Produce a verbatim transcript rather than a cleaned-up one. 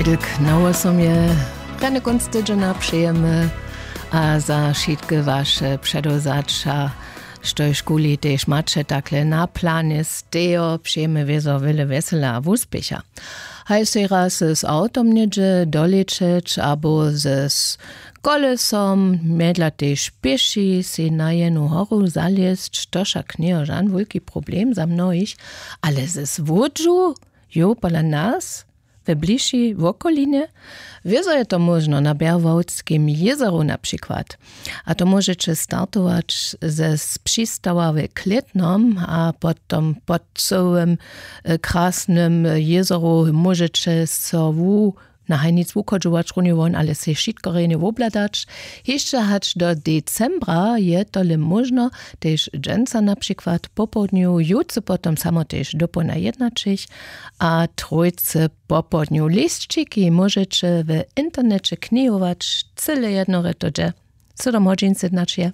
Jdlk na wosomje. Rjany kónc tydźena přejemy a za wšitke waše předewzaća, štož kuli tež maće takle na planje stejo, přejemy wězo wjele wjesela a wuspěcha. Haj sej raz z awtom něhdźe dolećeć abo z kolesom, mjedla tež pěši sej na jenu horu zalězć, to wšak njejo žan wulki problem za mnohich. Ale z łódźu, jo, pola nas we bližšej wokolinje. Wězo je to móžno na bjerwałdskim jězoru na přikład. A to móžeće startować ze z přistawa we klětnom a potom pod cyłym krasnym jězoru móžeće so wu na hajnic wuchodźować runje won, ale sej wšitko rjenje wobhladać. Hišće hač do decembra je tole móžno, tež dźensa na přikład popołdnju, jutře potom samo tež dopołdnja jednaćich a trójce popołdnju. Lisćiki móžeće w interneće knihować cyle jednore to dźe. Sydom hodźin sydnaćije.